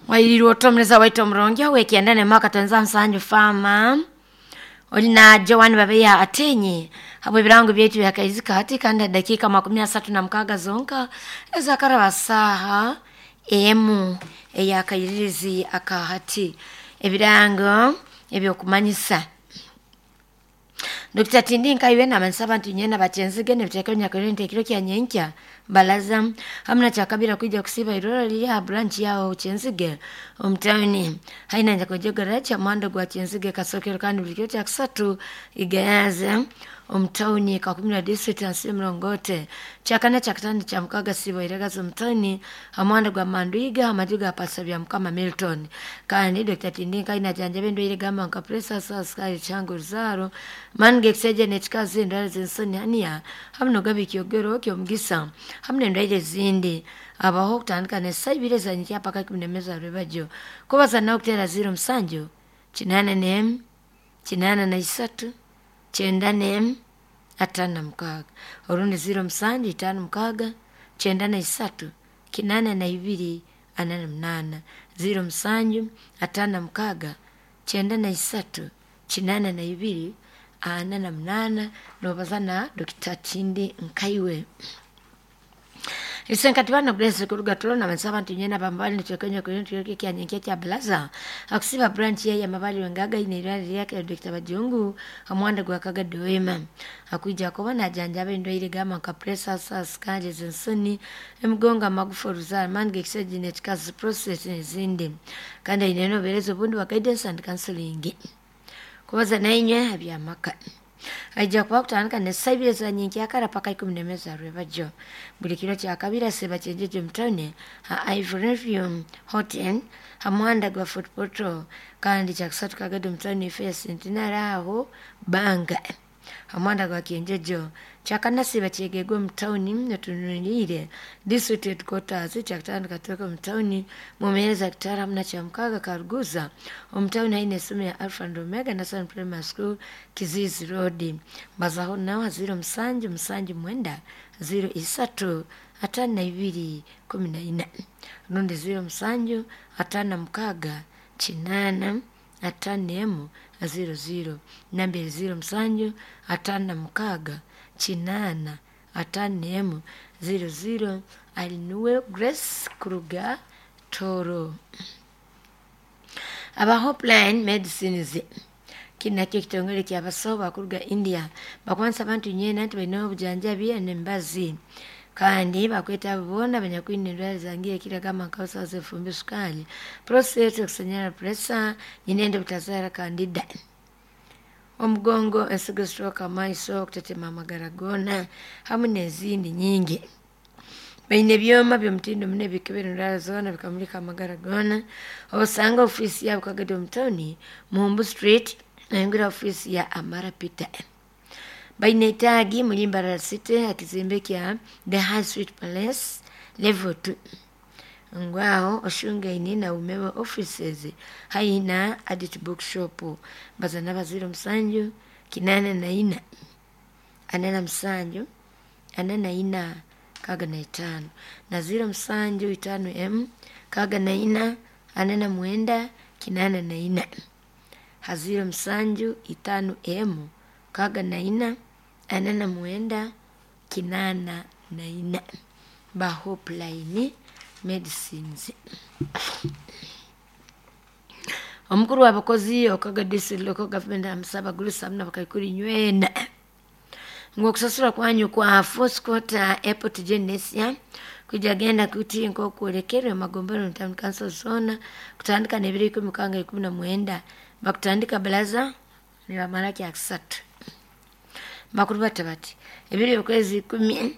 Wayirirwa otomureza waitu omurungi owekyenda nemwaka tonza nsanju fama oli na Joan Babeya Atenyi habwe ebirango byaitu byakaizika hati kandi dakika 36 zonka ezakaraba saha emu eyakairirizi akahati ebirango ebyokumanyisa Dr. Tindi Nkaiwe nabansaba nti nyena bakyenzige nebiteeka nyakaliro nti ekiro kya nyenkya balaza hamuna kyakabira kwija kusiba irora liri ha branch yaho kyenzige omutawuni haina njakojegera kya mwanda gwa kyenzige kasokero kandi buli kiro kyakusatu igayaza omutawuni kakumira district ansi mrongote kyakana kyakatano kya mukaga siba iragaza omutawuni hamwanda gwa manduiga amaju ga pasa bya mukama Milton kandi Dr. Tindi Nkaina janjabe endwaire gamba nka pressure sukari changu ruzaro mange ekisajja n'ekikazi endwara z'ensoni haniya hamu nogaba ekyogero ky'omugisa hamu n'endwaire ezindi abaho okutandika n'essaaha ibiri ezanyikya paka 11 za rwebagyo kubaza nawe okuteera 07 81 83 91 56 orundi 07 56 93 82 48 07 56 93 82 48 nobaza na Dr. Tindi Nkaiwe. Isenkati bana Grace kuruga tulona bansaba nti nyena bambali nitwekenya kwenye tuyoke kya nyenkia kya blaza akusiba branch ya mabali wengaga ine irali yake Dr. Bajungu amwanda gwa kaga doema akuija kuba na janjabe ndwaire gama nka pressure sa sukari zensoni emigongo amagufa ruzara mange kiseji n'ekikazi process n'ezindi kandi ine noberezo obundi wa guidance and counseling kubaza nainywe abyamaka aija kuba kutandika n'essaaha za nyenkyakara paka 11 za rwebagyo buli kiro kyakabiri asiba kyenjeje mutawuni ha Ivory Hotel ha muhanda gwa Fort Portal kandi kyakusatu kagado mutawuni ife ya Centenary aho banga ha muhanda gwa kyenjejo kyakana siba kyegegwe mutawuni netunulire district headquarters kyakutano katoka mutawuni mumeereza kitara hamuna kyamukaga karuguza omutawuni haine essomero ya Alpha and Omega National Primary School Kizizi Road mbazaho nawa 07 79 03 52 14 rundi 07 56 8 51 00 nambere 07 56 8 51 00 alinuwe Grace Kuruga Toro. Aba Hopeline Medicines kinakyo ekitongole kyabasawo bakuruga India bakwanisa abantu nyena nti balina obujanjabi n'embazi kandi bakweta abo boona abanyakwine endwara zangiire ekiragamba nka busaza efumbi sukari prostate okusanyara pressure nyinende butazaara kandida omugongo ensigo stroke amaiso okutetema amagara goona hamu n'ezindi nyingi baine ebyoma by'omutindo muno ebikebera endwara zoona bikamulika amagara goona obusanga ofiisi yaabo kagadi omutawuni Muhumbu Street nayongera ofiisi ya Amara Peter baine etaagi muri Mbarara City akizimbe kya The High Street Palace level 2 ngwaho oshungaine na umewe offices haihi na Adit Bookshop baza naba 07 84 47 44 65 na 07 5 M 64 49 84 ha 07 5 M 64 49 84 ba Hopeline Medicines. Omukuru w'abakozi okaga district local government amusaba gulusa hamuna bakaikuru nywena ngu okusasura kwanyu kwa fourth quarter airport genesia kuja genda kuti nk'okwolekerwe magombero town council zona kutandika n'ebiro ikumi mukanga 19 bakutandika balaza nibamara kyakusatu bakuru bata bati ebiro eby'okwezi 10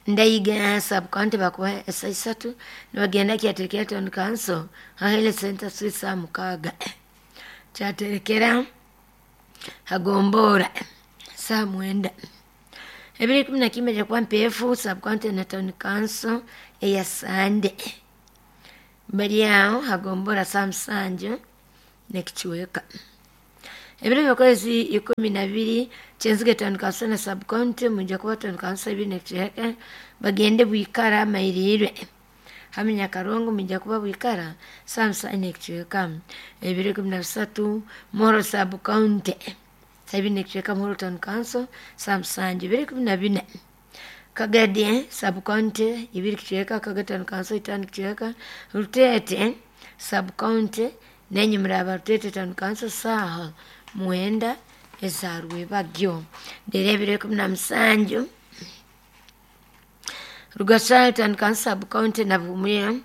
ndaiga sub-county bakuba esaa isatu nibagenda kyaterekera town council ha health center street saa 6 kyaterekera hagombora saa 9 ebiro 11 jakuba mpeefu sub-county na town council eya Sande bari aho hagombora saa 7 n'ekichweka ebiro by'okwezi 12 kyenzige town council na sub-county mujja kuba town council ebiri n'ekichweka bagende bwikara mairirwe Hamwe Nyakarongo mwija kuba bwikara saa 7 n'ekicweka. 2013 Moro Sub County saa 2 n'ekicweka Muhoro Town Council saa 7. 2014 Kagadi Sub County 2 kicweka Kagadi Town Council 5 kicweka. Rutete Sub County nenye muraba Rutete Town Council saaha 9 eza rwebagyo. Rero 2017 Rugashali Town Council Sub County na Buhumuye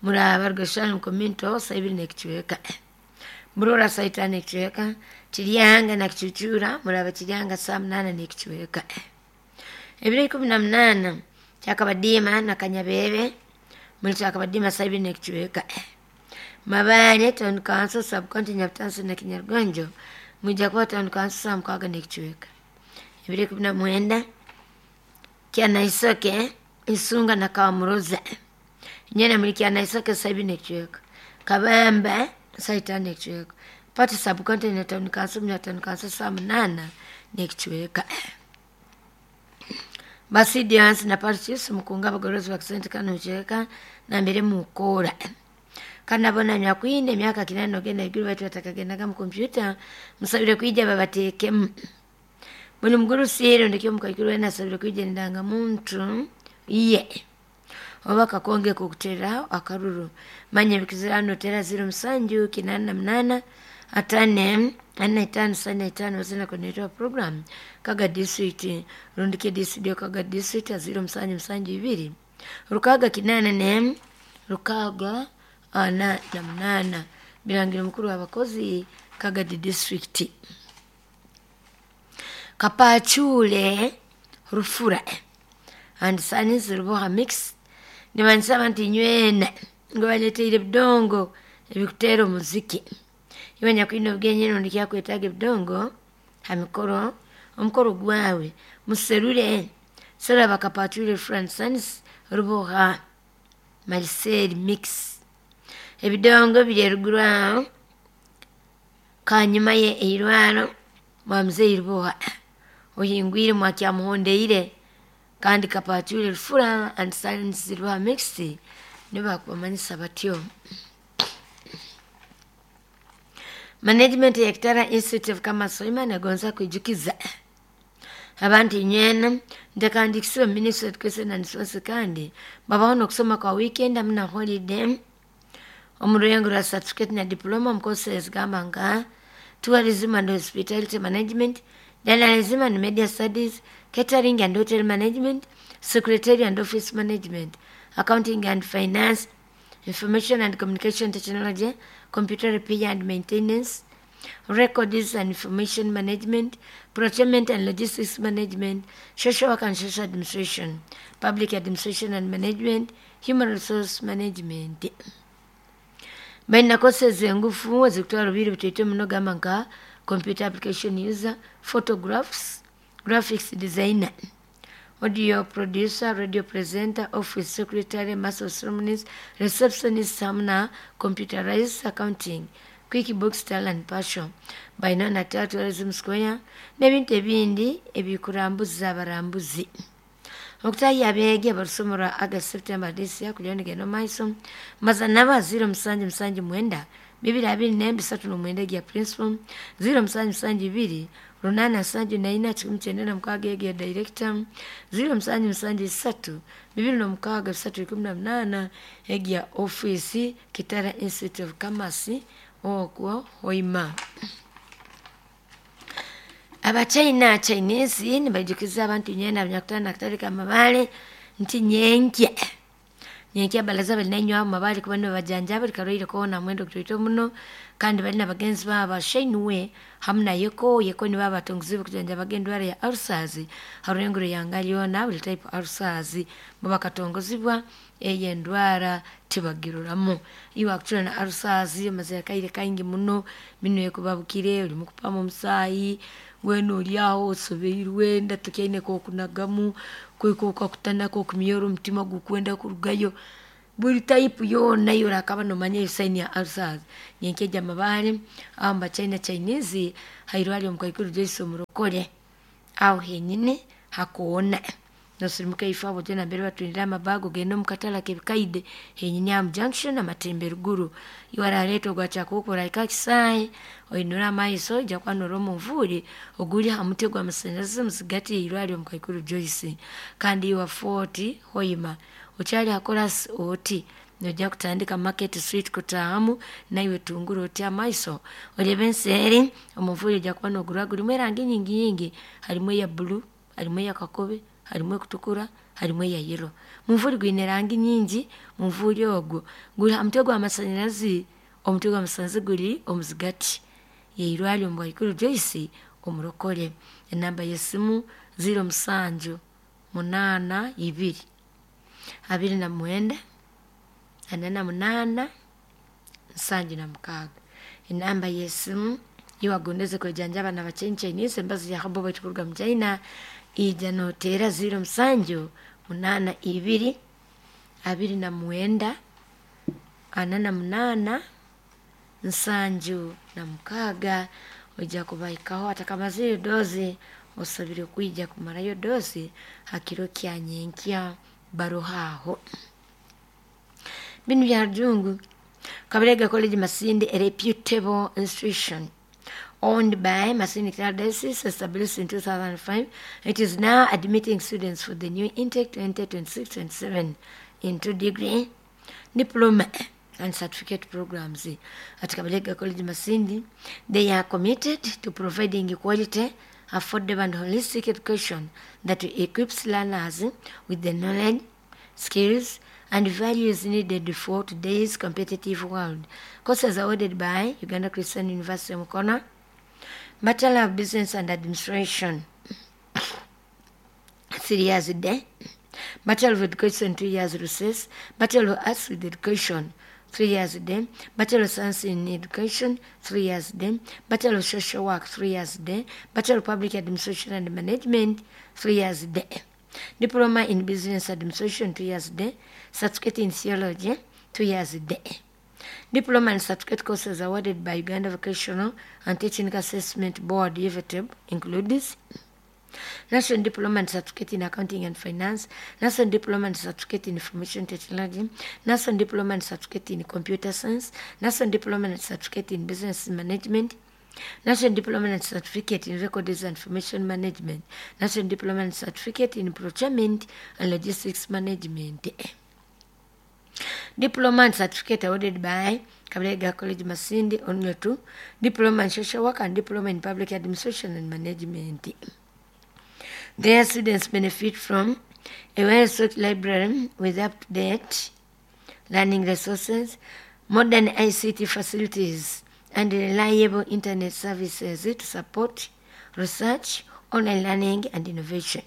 muraba Rugashali Community saa 2 n'ekicweka. Murora saa 5 n'ekicweka. Kiryanga na Kicucura muraba Kiryanga saa 8 n'ekicweka. 2018 Kyakabadiima na Kanyabebe muri Kyakabadiima saa 2 n'ekicweka. Mabale Town Council Sub County Nyabutansi na Kinyargonjo mwija kuba Town Council saa 6 n'ekicweka. 2019 Kyanaisoke Isunga na Kamuroza nyene muri Kyanaisoke saa 2 n'ekicweka. Kabamba saa 5 n'ekicweka. Pati Sub County na Town Council na Town Council saa 8 n'ekicweka. Basidiansi na Parchis mukunga abagorozi bakisente kano cheka na mbere mukora kanabona nyakwinde emyaka 8 ogenda iguru baitu batakagendaga mu kompyuta musabire kwija babateekemu. Buli mugurusi ndikyo mukaikuru wena asabire kwija endanga muntu iye oba kakonge kukutera akaruru manya bikizirano tera 07 88 5 4 5 4 5 wazina kwenye program Kaga district rundike district Kaga district 0 7 7 2 6 8 4 6 4 8 birangira mukuru w'abakozi Kagadi district Kapacule Rufura and Sanis Ruboha mix nibansaba nti nywena ngo baleteire ebidongo ebikuteera omuziki iwe nyakwine obwenye rundi kyakwetaaga ebidongo ha mikoro omukoro gwawe muserure serura bakapacule Rufura and Sanis Ruboha Marcel mix ebidongo biri eruguru aho kanyuma ye eirwaro mwa mzei Ruboha ohingwire mwakyamuhondeire kandi Kapacule Rufura and Sanis Ruboha mix nibo bakubamanyisa batyo. Management ya Kitara Institute of Commerce Hoima negonza kwijukiza abantu inywena ntekandikisiwe Ministry of Education and Sports kandi babaho n'okusoma kwa weekend hamwe na holiday omu rurengo rwa certificate na diploma omu courses gamba nka tourism and hospitality management, journalism and media studies, catering and hotel management, secretary and office management, accounting and finance, information and communication technology, computer repair and maintenance, records and information management, procurement and logistics management, social work and social administration, public administration and management, human resource management. Balina courses engufu ezikutwara obwire butaito muno gamba nka computer application user, photographs, graphics designer, audio producer, radio presenter, office secretary, master of ceremonies, receptionist hamwe na computerized accounting, QuickBooks Tally and Passion. Balina na Tourism Square n'ebintu ebindi ebikurambuza abarambuzi. Okutaahi abeegi abarusoma rwa August September this year kugira nigenda omu maiso maza naba 0 7 7 9 2 2 4 3 9 egya principal 0 7 7 2 8 7 4 196 egya director 0 7 7 3 2 6 3 18 egya office Kitara Institute of Commerce okwo Hoima. Abachina Chinese nibajukiza abantu nyena abanyakutana akatale k'amabaale nti nyenkya nyenkya balaza balina enywa amabaale kuba nibabajanjaba buli karwaire koona mwenda ogutaito muno kandi balina bagenzi baabo ba Shinwe hamu na Yeko. Yeko nibo abatongiziibwe kujanjabaga endwara ya ulcers ha rurengo rw'ihanga lyona buli type ulcers bo bakatongozibwa eyo endwara tibagiroramu. Iwe akucura na ulcers omazire akaire kaingi muno minwe ekubabukire orimu kupama omusaayi weena ori aho osobeirwe enda tokyaine k'okunagamu kwika okakutanaka okumyora omutima gukwenda kurugayo buri type yoona yorakaba nomanya eyo sign ya ulcers nyenkya egya amabaare aho mubachina Chinese hairwariro omukaikuru Joyce Omurokore aho henyine hakoona Nosirimuka ifo abo genda mbere batwindira amabago genda omu katale k'ebikaide henyini aha mu junction amatembe ruguru. Iwe araleeta ogwa kyakukura ika kisaayi oinura amaiso ojja kwanura omunvuuri oguri ha muti gw'amasanyalazi muzigati y'eirwariro Mukaikuru Joyce. Kandi iwe Fort Hoima okyali hakorasi oti nojja kutandika Market Street kutaahamu naiwe tungura oti amaiso orebe enseeri omunvuuri ojja kuba nogurora gurimu erangi nyingi nyingi, harimu eya blue, harimu eya kakobe, harimu ekutukura, harimu eya yellow. Munvuuri gwine erangi nyingi. Munvuuri ogwo guri ha mutwe gw'amasanyalazi, omutwe gw'amasanyalazi guri omuzigati y'eirwariro Mukaikuru Joyce omurokore. Enamba y'esimu 07 82 29 48 76. Enamba y'esimu iwagondeze kwejanjaba na bachenchainise embazi ya habo baitu kuruga mu China ija noteera 07 82 29 48 76. Ojja kubaikaho atakamazire dozi osabire kwija kumarayo dozi hakiro kya nyenkya baruhaho. Binu bya Rujungu. Kabalega College Masindi, a reputable institution owned by Masindi Diocese, established in 2005. It is now admitting students for the new intake 2026-27 into degree, diploma, and certificate programs. At Kabalega College Masindi, they are committed to providing quality, affordable, and holistic education that equips learners with the knowledge, skills, and values needed for today's competitive world. Courses awarded by Uganda Christian University Mukono, Bachelor of Business and Administration, 3 years a day, Bachelor of Education, 2 years recess, Bachelor of Arts with Education, 3 years a day, Bachelor of Science in Education, 3 years a day, Bachelor of Social Work, 3 years a day, Bachelor of Public Administration and Management, 3 years a day, Diploma in Business Administration, 2 years a day, Certificate in Theology, 2 years a day. Diploma and certificate courses awarded by Uganda Vocational and Technical Assessment Board, UVTEB, includes National Diploma and Certificate in Accounting and Finance, National Diploma and Certificate in Information Technology, National Diploma and Certificate in Computer Science, National Diploma and Certificate in Business Management, National Diploma and Certificate in Records and Information Management, National Diploma and Certificate in Procurement and Logistics Management. Diploma and certificate awarded by Kabalega College Masindi only two, Diploma in Social Work and Diploma in Public Administration and Management. Their students benefit from a well-stocked library with up-to-date learning resources, modern ICT facilities, and reliable internet services to support research, online learning, and innovation.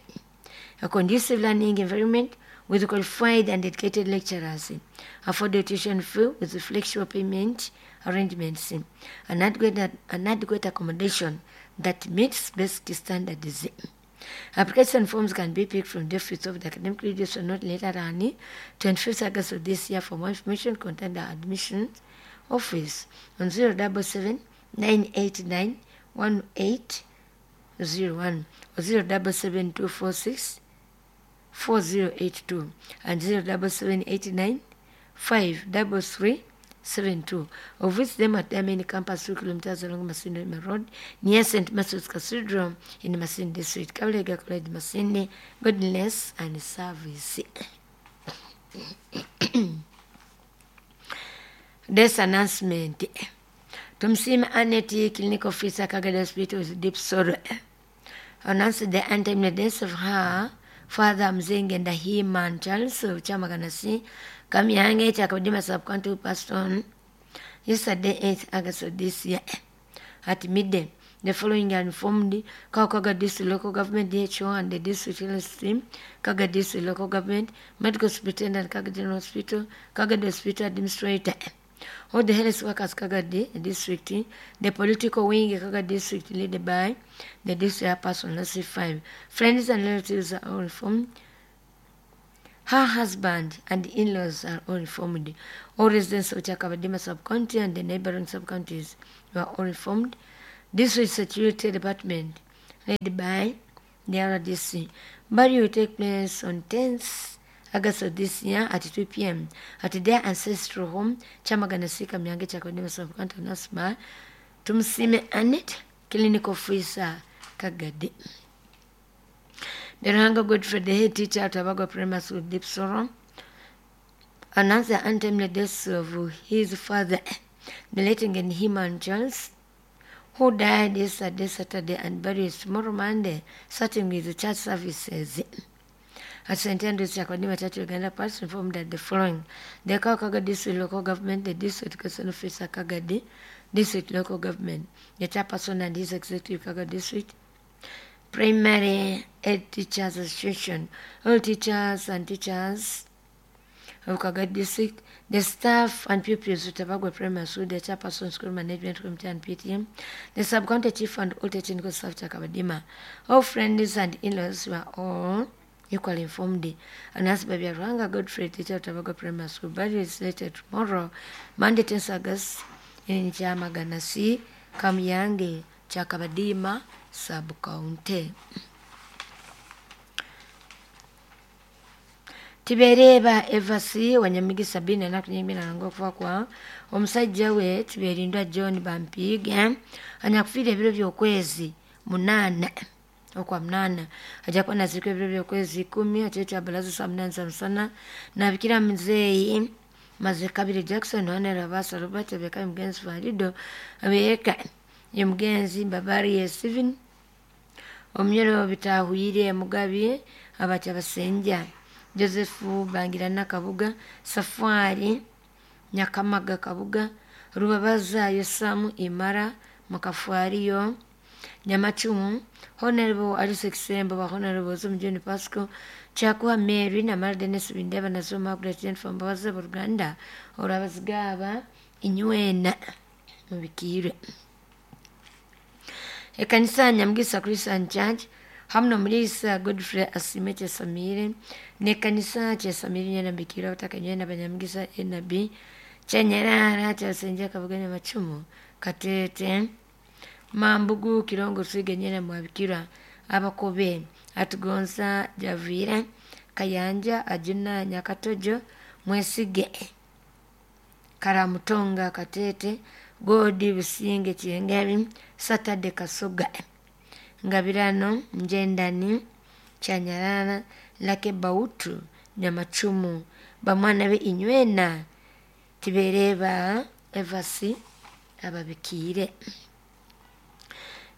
A conducive learning environment with qualified and dedicated lecturers, affordable tuition fee with flexible payment arrangements, and adequate accommodation that meets basic standards. Application forms can be picked from the office of the academic leaders not later than 25th August of this year. For more information, contact the admissions office on 077 989 1801 or 077 246 4082 and 07789 53372. Or visit them at their main campus 2 kilometers along Masindi Road near St. Matthew's Cathedral in Masindi District. Kabalega College Masindi, goodness and service. This announcement. Tumsima Annette, clinic officer, Kagadi Hospital with deep sorrow, announced the untimely death of her father Mzenge Ndahiman Charles of Chamaganasi, Kamyange, Chakabadima sub-county, who passed on yesterday, 8th August of this year, at midday. The following are informed: Kaga District Local Government, DHO, and the District Health Team, Kaga District Local Government, Medical Superintendent, Kaga General Hospital, Kaga Hospital Administrator, all the health workers, Kaga District, the political wing, Kaga District, led by the district person, C5. Friends and relatives are all informed. Her husband and in-laws are all informed. All residents of Chakabadima sub-county and the neighboring sub-counties were all informed. District Security Department, led by the RDC. Burial will take place on 10th August of this year at 2 p.m. at their ancestral home, Chamagana Sika Myange Chakodima Sub-County Nasma, Tumsime Anet, Clinic Officer Kagadi. Beranga Godfrey, the head teacher at Abagwa Primary School, Deep Sorrow, announced the untimely death of his father, the late Himan Jones, who died yesterday, Saturday, and buried tomorrow, Monday, starting with the church services. At St. Andrews Chakodima Church, Uganda, Parish informed that the following: the Kakaga District Local Government, the District Education Officer Kagadi, District Local Government, the Chairperson and his Executive Kaga District, Primary Ed Teachers Association, all teachers and teachers of Kaga District, the staff and pupils of Tabagwa Primary School, the Chairperson School Management Committee and PTM, the Sub-County Chief and all technical staff Chakabadima. All friends and in-laws were all equally informed. Announced by Ranga Godfrey, teacher of Tabagwa Primary School. Burial is slated tomorrow, Monday, 10th August, in Chamaganasi, Kamyange, Chakabadima, Sub-County. Tibereba Evasi Wanyamigi Sabini anakunyimira nango okufa kwa omusajja we Tiberindwa John Bampiga anyakufiira ebiro by'okwezi 8 okwa 8 ajja kuba nazirika ebiro by'okwezi 10 ekiro kya balaza saa 8 za musana nabikira muzeeyi Maze Kabiri Jackson Honera Basa Robert Beka mugenzi Farido Abeka ye mugenzi Mbabari Steven Omnyoro Bitahwire Mugabi Abacha Basenja Joseph Bangirana Kabuga Safari Nyakamaga Kabuga Rubabaza Yosamu Imara Makafwariyo Nyamachumu Honorable Alice Kisembo wa Honorable Zumjuni Pasco Chakuwa Mary na Mara Dennis Bindeba na Zuma Margaret Jennifer Mbabazi Buruganda Orabazigaba Inywena mubikire. Ekanisa Nyamugisa Christian Church hamno mulisa Godfrey Asime Chesamire nekanisa Chesamire nyana bikira bataka nyana banyamugisa NB Chenyarara Chasenja Kabuganya Machumu Katete Mambugu Kirongo Swige nyana mwabikira Abakobe Atugonza Javira Kayanja Ajuna Nyakatojo Mwesige Karamutonga Katete Godi Businge Chiengeri Saturday Kasoga Ngabirano Njendani Chanyarana Lake Bautu Nyamachumu bamwana be Inywena Tibereba Evasi ababikire.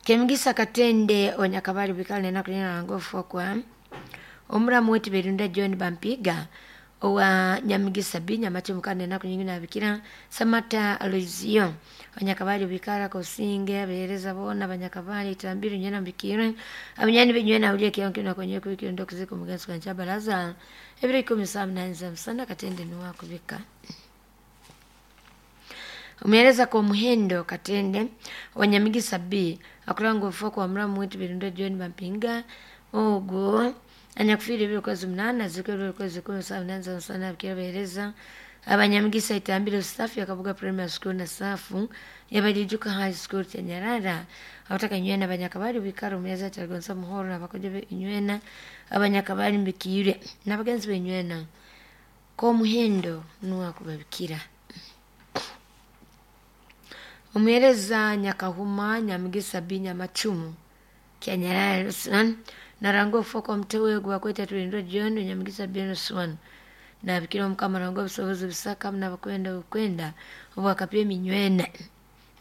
Kemugisa Katende Onyakabali bikale na kulina ngofu kwa omuramu wetu Berunda John Bampiga owa Nyamugisa B Nyamachumu kane na kunyingina abikira Samata Aloizio Onyakabali bikala kosinge abereza bona banyakabali tambiru nyana mbikire abanyani benywena uliye kionke na kwenye kuikiro ndo kuziko mugenzi kwa baraza ebiri 18 za msana Katende ni wako bika. Umeeleza kwa muhendo Katende Wanyamigisa B akulango foko wa mramu wetu Berunda John Bampinga ogo anyakufiri biro kwezi 8 zikiro kwezi 17 za msana bikira abanyamigisa itambiro staff ya Kabuga Primary School na safu yabadijuka High School Chenyarara abataka nywena abanyakabali bikaro meza chagonza muhoro nabakoje be nywena abanyakabali mbikire nabagenzi be nywena ko muhendo nuwa kubabikira. Umwereza Nyakahuma Nyamugisa B Nyamachumu Kyanyarara Ruslan narango foko mtewe gwa kweta tulindwa John Nyamugisa B Ruslan na bikira mukama rango busobozi busaka mna bakwenda bukwenda obwakapye minywena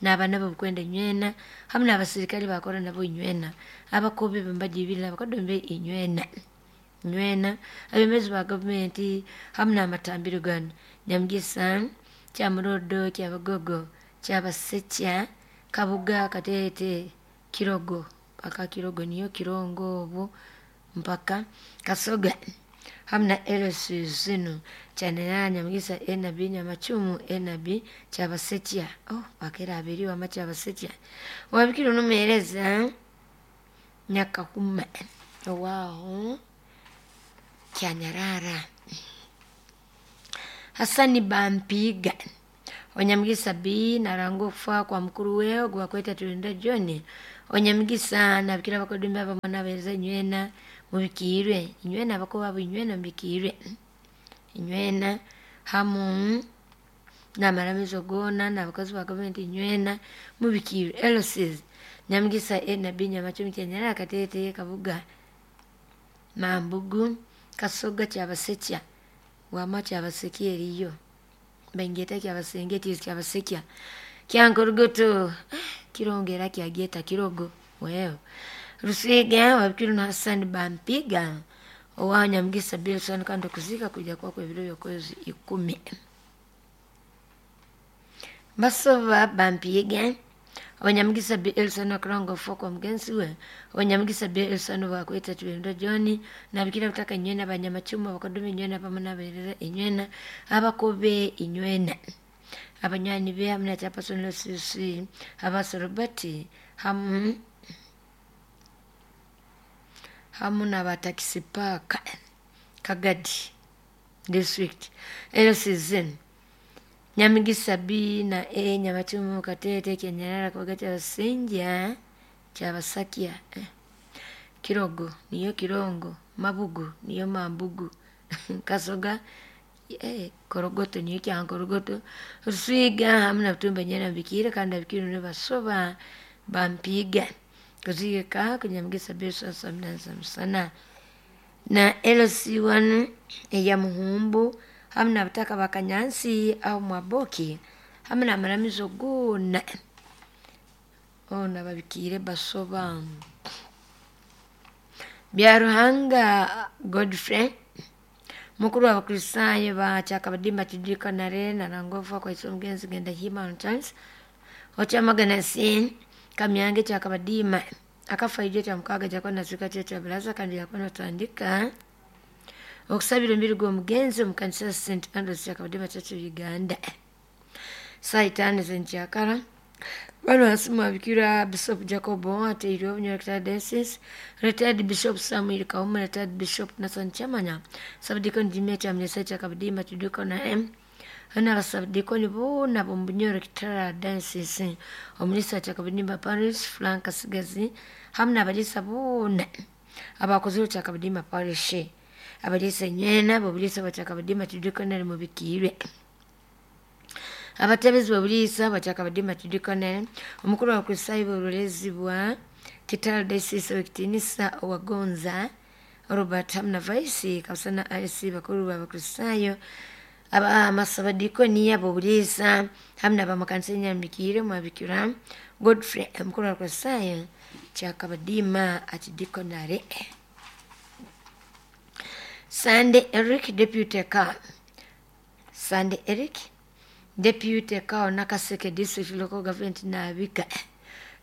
n'abana babukwenda nywena hamwe n'abasirikali bakora nabo inywena abakobe bambajibira abakodombe inywena nywena abemezi ba government hamwe n'amatambiro gano Nyamugisa Kyamurodo Kyabagogo Kyabasekya Kabuga Katete Kirogo paka Kirogo niyo Kirongo obo mpaka Kasoga hamna LC zinu chanana Nyamugisa NB Nyamachumu NB Kyabasekya oh bakera abiri wa Kyabasekya wabikira numereza Nyakahuma wow Kyanyarara Hasani Bampiga Onyamugisa B naranga okufa kwa mukuru we ogwakweta Tulinda John. Onyamugisa nabikira abakodumi abamwe n'abahereza inywena mubikiirwe inywena abakuba abo inywena mubikiirwe inywena hamu n'amaramizo goona n'abakozi ba gavumenti inywena mubikiirwe. LCs Nyamugisa A na B Nyamacumi Kyenyera Kateete Kabuga Mambugu Kasoga Kyabasekya wama Kyabasekya eriyo Bengeta Kyabasengeti Kyabasekya Kyankorugoto Kirongo era kyagyeta Kirogo wewe Rusiga Wabikiru na Hassan Bampiga owa Nyamugisa Bilson kandi okuzika kuja kwakwo ebiro by'okwezi 10. Basoba Bampiga Abanyamugisa B. Elson akuranga okufa kwa mugenzi we. Abanyamugisa B. Elson bakweta Tulinda John nabikira butaka inywena abanyamacumu abakodumi inywena pamoja n'abahereza inywena abakobe inywena abanywani be hamu na chairperson LCC Abaso Robert hamu n'abatakisi paaka Kagadi district LCZ Nyamugisa B na A Nyamacumu Katete Kenyarara Kabuga Kyabasinja Kyabasakya Kirogo niyo Kirongo Mabugu niyo Mambugu Kasoga Korogoto niyo Kyankorogoto Rusiga hamu na Butumba nyena bikiire kandi abikiire nibo basoba Bampiga kuzika kunyamugisa B sana na LC1 eya Muhumbu hamu na butaka bakanyansi au Mwaboki hamu n'amaramizo goona ona babikiire basoba Byaruhanga Godfrey mukuru w'Abakristaayo ba Kyakabadimba Kidikonare naranga okufa kwa ise omugenzi Genda Hima Chance Okyamagana C Kamyange Kyakabadima akafa ijo kya mukaga jakona nasika kyo kya bulaza kandi yakona tandika okusabira omubiri gw'omugenzi omu kanisa St Andrews Kyakabadima Church of Uganda saa 5 z'enkyakara. Bano hasimu abikira Bishop Jacob Ateirwe Obunyoro Diocese, retired Bishop Samuel Kauma, retired Bishop Nathan Chamanya, Subdeacon Jimmy Chamnesa Kyakabadima Tudikona M n'abasabdikoni boona b'omu Bunyoro Kitara Diocese, omulisa Kyakabadimba Parish Frank Kasigazi hamu n'abalisa boona abakozire Kyakabadimba Parish, abalisa inywena b'obulisa bwa Kyakabadimba Tudikonere mubikiirwe. Abatebezi b'obulisa bwa Kyakabadimba Tudikonere, omukuru wa Kristaayo b'obulezi bwa Kitara Diocese ow'ekitiinisa Owagonza Robert hamu na Vice Kabusana IC bakuru b'Abakristaayo amasabadikoni ab'obulisa hamu n'abamakanisa enyambikiire mwabikira Godfrey omukuru wa Kristaayo Kyakabadima Akidikonare. Sunday Eric Deputy Car Sunday Eric Deputy Car Nakaseke District Local Government nabika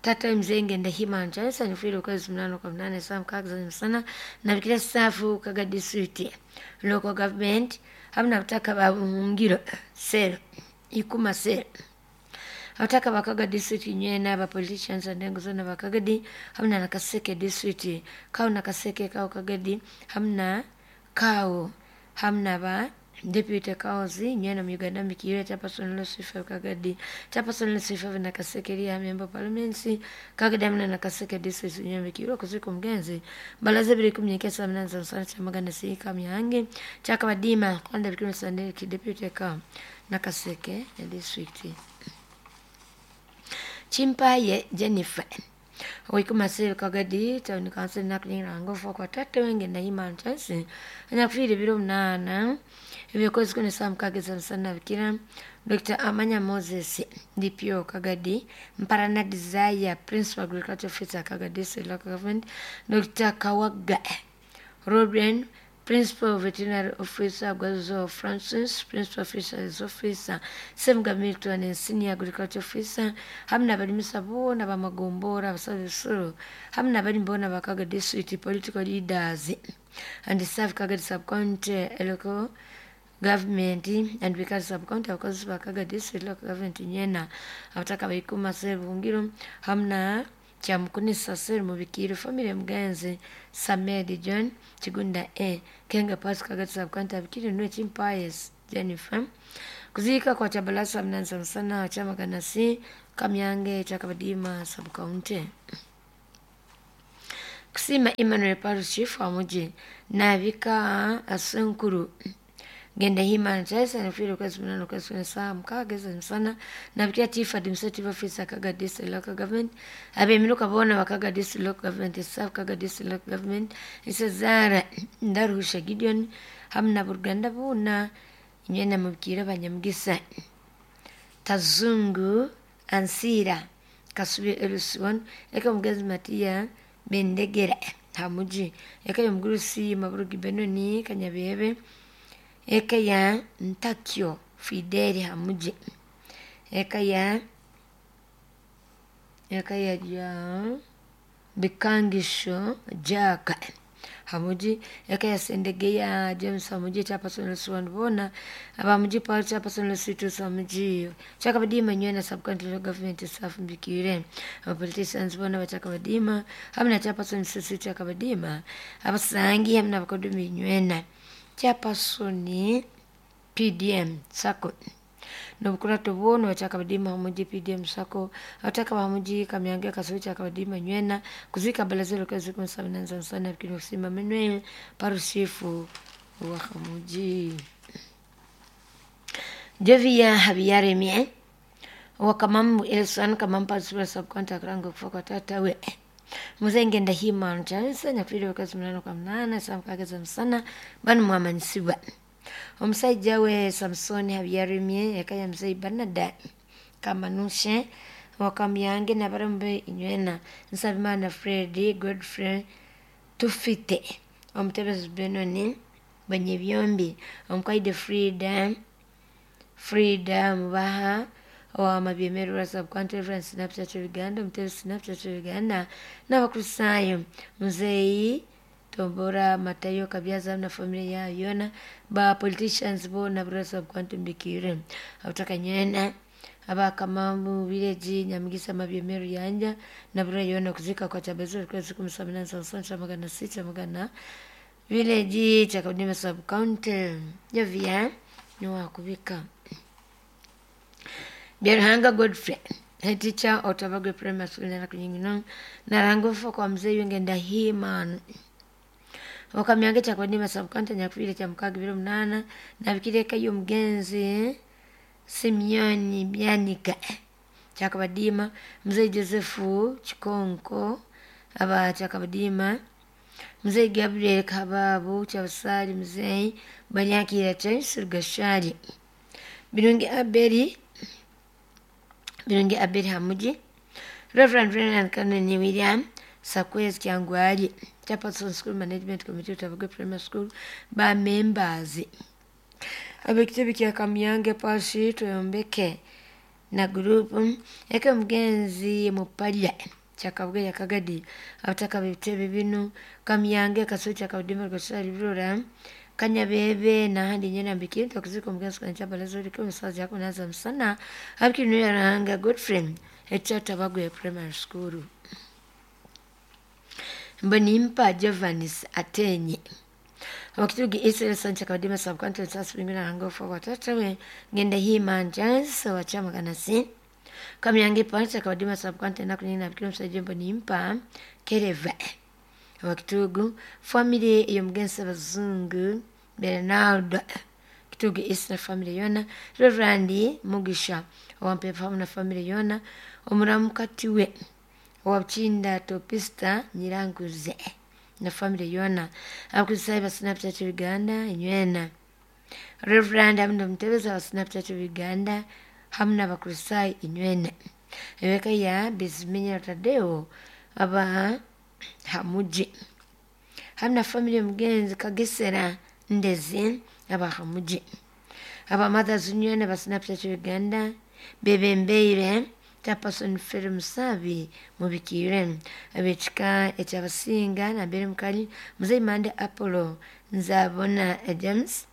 Tata mzenge ndahima nchansa nifwile ukwezi 8 kwa 8 saa 6 za msana nabikira safu Kaga District Local Government hamu na butaka ba Buhungiro sero ikuma sero abataka bakaga district inywena aba politicians and engo zona bakagadi hamu na Nakaseke district kao Nakaseke kao Kagadi hamu na kao hamu na ba deputy kaozi inywena mu Uganda mikire chairperson Lucifer Kagadi chairperson Lucifer Nakaseke ria member parliament Kagadi hamu na Nakaseke district inywena mikire kuzika omugenzi balaze biri 19 sana chamagana si kamyange Kyakabadima kwanda bikiro Sunday deputy kao Nakaseke district. Chimpaye Jennifer Oikumase Kagadi town council nakulinga okufa kwa tata wenge Nahima Chance anyakufiire ebiro 8 ebyokwezi kune saa 6 za msana bikira Dr. Amanya Moses DPO Kagadi Mparana Desire Principal Agriculture Officer Kagadi State Local Government Dr. Kawaga Robin Principal Veterinary Officer Gwazo Francis, Principal Fisheries Officer Semga Milton and Senior Agriculture Officer hamu n'abalimisa boona bamagombora abasabisuru hamu n'abalimi boona bakaga District Political Leaders and staff Kagadi Sub-County Local Government and Bikari Sub-County abakozi bakaga District Local Government nyena abataka baikuma Sebuhungiro hamu na Kyamukunisa Seri Mubikiire family mugenzi Samed John Kigunda A Kenga Pass Kagadi Sub-County abikire nwe Chimpayes Jennifer Kuzika kwa Chabalasa mnanza sana chama ganasi Kamyange Chakabadima subcounty. Kusima Emmanuel Paris Chief wa muji nabika asenkuru genda hima nchesa nifiro kwezi mnano kwezi saa mkaga sana nabikia chief administrative officer Kaga district local government abemiruka bona bakaga district local government staff Kaga district local government isezara Ndaruhusha Gideon hamna Buruganda bona inywena mubwira abanyamugisa Tazungu Ansira Kasubi Elusiwon eka mugezi Matiya Bendegera Hamuji eka yomgurusi Maburugi Benoni Kanyabebe eka ya Ntakyo Fideli Hamuji eka ya Bikangisho Jaka Hamuji eka ya Sendegeya James Hamuji chairperson Lusiwan bona abamuji Paul chairperson Lusitu Hamuji Chakabadima nywena subcounty local government staff mbikire aba politicians bona bachakabadima hamna chairperson Sisi Chakabadima abasangi hamna bakodumi nywena chairperson PDM sako nobukurato bwono bachakabadima hamuji PDM sako abataka bamuji Kamyange Kasowe Chakabadima nywena kuzika balazelo kazi kumsabinanza sana bikino kusima Manuel Parusifu wa Hamuji Jovia Habiyaremye wakamambu Elson kamampa sura subcontract rango kufa kwa tata we muzenge ndahima nchansa nyafiri kazi mnano kwa mnana samkageza msana banu mwamanisiwa omusajja we Samsoni Habiyaremye ekaya mzei Bernard Kamanushe wakamyange nabarambe inywena Nsabimana Fred Godfrey Tufite omutebezi Benoni Banyebyombi omukaide Frida Mubaha wa Mabyemeru subcounty Reference Snapchat Uganda omutebezi Snapchat Uganda n'abakristayo muzeyi Tombora Matayo Kabyaza na familia yao yona ba politicians bona brasa subcounty mbikire abutaka nyena abakamambu village Nyamugisa Mabyemeru yanja na bura yona kuzika kwa chabezo kwa siku 76 magana village Chakabadima subcounty yavia niwa kubika Byaruhanga Godfrey head teacher Otabagwe Primary School na kunyingino narango kwa mzee yengenda hima wakamyange Chakabadima subcounty nyakufire cha mukaga 28 nabikireka yo mugenzi Simeoni Byanika Chakabadima mzee Josefu Chikonko aba Chakabadima mzee Gabriel Kababu Chabasali mzee Banyakira Chaisi Gashari Birungi Abeli Hamuji Reverend Renan Kanani William Sakwezi Kyangwali Chairperson School Management Committee Tabagwe Primary School ba members abekitebe kya Kamyange Pashi Toyombeke na group eka mugenzi Mupalya Chakabwe Yakagadi abataka bitebe bino Kamyange Kasowe Chakabadima Gashari Birora Kanyabebe nahandi nyena mbikiri tokuziko mugenzi kwa Chabalazo liko msazi yako naza msana abikinu yaranga Godfrey Tabagwe Primary School Mbonimpa Jovanis Atenye wakitugi Israel Sancha Kadima subcounty sasa rango for watata we ngenda hima njans wa chama kanasi Kamyange Pancha Kadima subcounty na kunina bikiro msaje Mbonimpa Kereva wakitugu family yomgensa bazungu Bernardo Kitugu Israel family yona Reverend Mugisha wampe na family yona omuramukati we wabchinda topista Nyiranguze na family yona abakusaiba Snapchat Uganda inywena Reverend amna mtebeza wa Snapchat Uganda hamna bakusai inywena eweka ya Biziminya Tadeo aba Hamuji hamna family mgenzi Kagesera Ndezi aba Hamuji aba Mothers Union aba Snapchat Uganda bebembeire Chairperson Fred Musabi mubikire abechika echabasinga na mbere mukali mzee Mande Apollo Nzabona James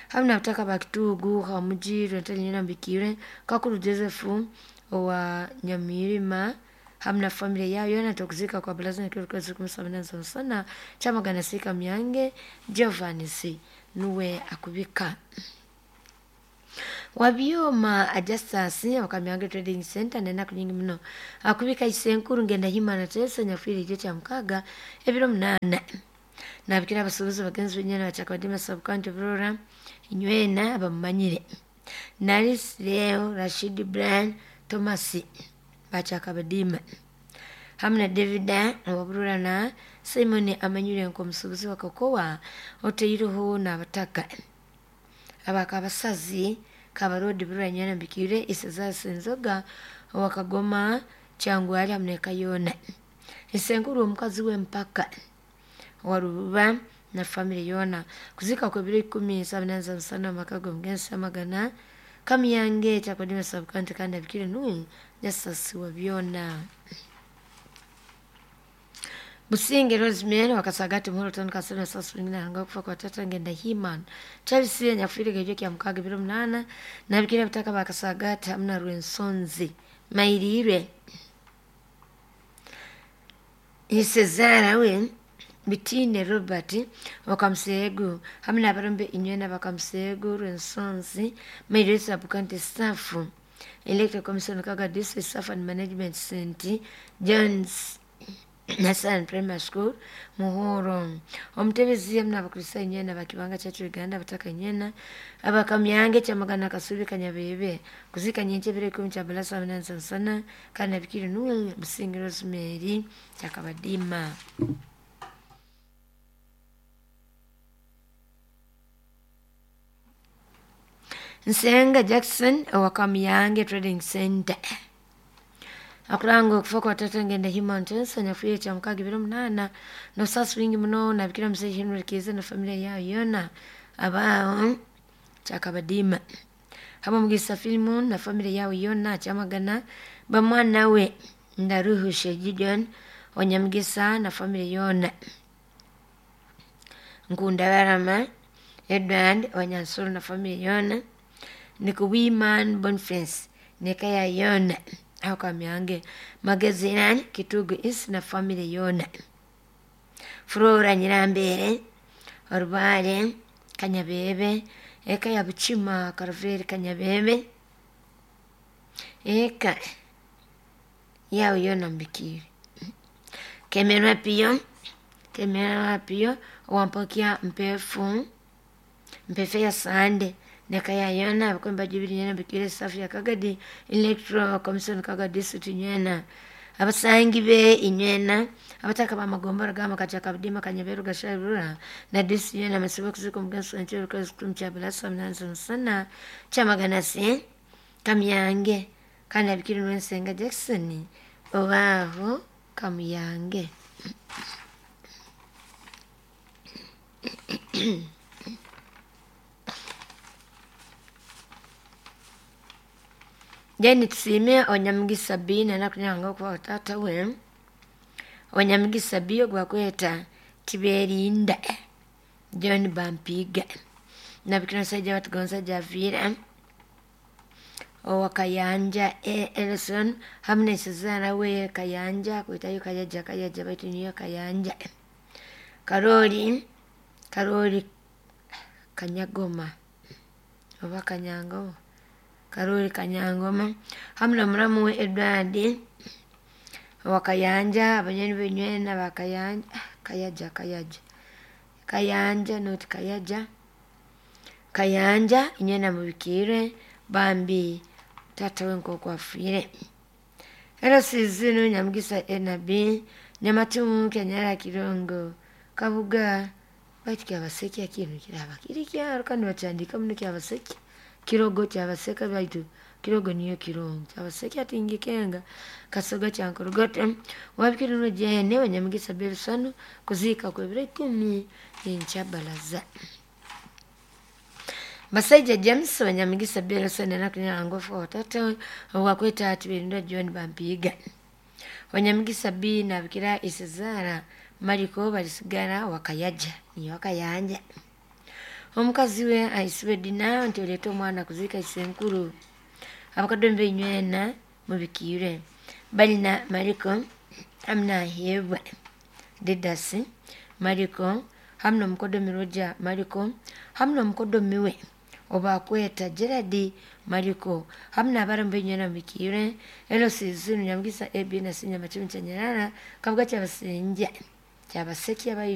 hamna butaka bakitugu Hamuji rwentali mbikire Kakuru Joseph wa Nyamirima hamna familia yao yona tokuzika kwa balaza na kiro kazi kumsamina sana chama ganasika Myange Giovanni nuwe akubika. Wabyoma Justus Wakamyange Trading Center nenaku nyingi muno akubika isenkuru ngenda himana tesa nyafuire ijo kya mukaga ebiro 8 nabikira abasuubuzi bagenzi benyana bachakabadima sub-county Burora inywena abamumanyire Naris Leo Rashid Brian Thomas bachakabadima hamwe na David waburura na Simon amanyire nk'omusuubuzi wa kokowa oteireho n'abataka abakabasazi kabarodi burura nyana mbikire isezasa enzoga wakagoma kyangwali hamwe ne kayona isenkuru omukazi w'empaka waruba na family yona kuzika kwa biro 17 sana makago mgensa magana kamiyange chakodima sub-county kandi abikire nuwe jasasi wa byona. Businge Rosemary wakasagati muhoro tano kasema sasa wengine anga kufa kwa tata ngenda himan Charles nyafiri gejo kya mukaga biro 8 na bikira bitaka bakasagati hamna Rwensonzi mairire Isezara we Bitine Robert wakamsegu hamna abarombe inywena bakamsegu Rwensonzi mairire sub-county staff Electoral Commission Kaga District Staff and Management Center Jones Nasan Primary School Muhoro omutebezi hamwe n'abakristayo nyena bakibanga church Uganda bataka nyena abakamyange kyamagana kasubi kanyabebe kuzika nyenche bire kumi kya balasa nansa sana kana bikiri nuwe Businge Rosemary kyakabadima. Nsenga Jackson owakamyange Trading Center akuranga okufa kwa tata ngenda human tensa nyafuye cha mukaga biro 8 no sasi wingi muno nabikira mzee Henry Kiza na familia yao yona abao chakabadima hama mugisa filimu na familia yao yona chamagana bamwana we ndaruhushe Gideon onyamugisa na familia yona Nkunda Barama Edward Wanyansuru na familia yona Nikuwiman Boniface nekaya yona aho kamyange Magazine Kitugu isi na family yona Flora Nyirambere Orubale Kanyabebe eka ya Buchima Karveri Kanyabebe eka yao yona mbikiri Kemerwa Pio wampokia mpefu mpefe ya sande nekaya yona abakomba jubili nyena bikire safi ya Kagadi Electoral Commission Kagadi District nyena abasangi be inywena abataka bamagombora gama kacha kabdima kanyaberu gasharura na disi nyena masibo kuziko mgenso nchero kazi kumcha balasa mnanzo sana chamagana se kamyange kana bikiri nwensenga Jackson obaho kamyange. Jeni tusime onyamugisa B nana kunyanga kwa tata we onyamugisa B gwa kweta Tiberinda John Bampiga na bikina saja watu gonza Javira owakayanja Ellison hamne sazana we Kayanja kuitayo Kayaja Kayaja baitu niyo Kayanja Karoli Kanyagoma oba Kanyango Karoli Kanyangoma hamna muramu we Edward wakayanja abanyeni benywena bakayanja Kayaja Kayaja Kayanja not Kayaja Kayanja inywena mubikire bambi tata wenko kwafire era sizinu nyamugisa enabi nyamatumu kenyara kirongo kabuga baitu kyabaseki kintu kiraba kiri kyaro kandi bachandika muno kyabaseki kirogo kyabaseka baitu kirogo niyo kirongo kyabaseki atingi kenga kasoga kyankurugote wabikirino jene wanyamugisa belusano kuzika kwebiro 10 enchabalaza. Basaija James wanyamugisa belusano nakunya ngofu watata wakweta atibirindo John Bampiga wanyamugisa B na bikira isezara mariko balisigara wakayaja ni wakayanja omukazi we aisibe dina nti oleta omwana kuzika isenkuru abakadombe inywena mubikire balina mariko hamna hebwa didasi mariko hamna mukodomi roja mariko hamna mukodomi we Obakweta Gerard Mariko hamu n'abaramu bainyana mubikire LCC Nyamugisa AB na C Nyamachumi Chanyarara Kabuga Kyabasinja Kyabaseki.